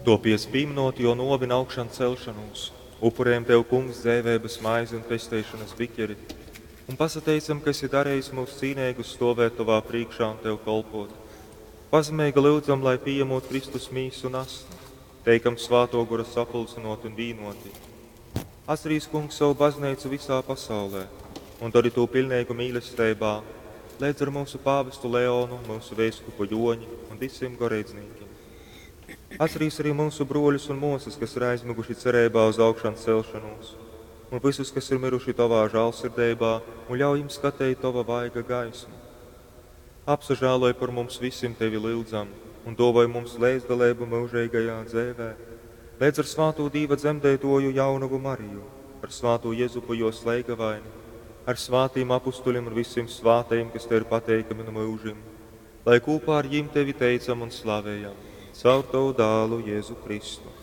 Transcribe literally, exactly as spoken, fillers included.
Tuopiec, pīmynot Juo nuovi un augšancelšonūs, upurejam Tev, Kungs, dzeiveibys maizi un pesteišonys bikeri, un pasateicam, ka esi darejis myus cīneigus stuovēt Tovā prīškā un Tev kolpuot. Pazemeigi lyudzam, lai, pījamūt Kristus mīsu un asni, teikam Svātuo Gora sapulcynuoti un vīnuoti. Atcerīs, Kungs, sovu bazneicu visā pasaulē un dori tū piļneigu mīlesteibā, leidz ar myusu pāvestu Leonu, myusu veiskupu Juoņi un vysim goreidznīkim. Atcerīs arī myusu bruoļus un muosys, kas ir aizmyguši cereibā uz augšancelšonūs, un vysus, kas ir myruši Tovā žālsirdeibā, un ļauj jim skateit Tova vaiga gaismu. Apsažāloj par mums vysim, Tevi lyudzam, un duovoj mums leidzdaleibu myužeigajā dzeivē, leidz ar svātū Dīva dzemdeituoju jaunovu Mariju, ar svātū Jezupu juos leigavaini, ar svātīm apustuļim un vysim svātajim, kas Tev ir pateikami nu myužim, lai kūpā ar jim Tevi teicam un slavejam, caur Tovu dālu Jēzu Kristu.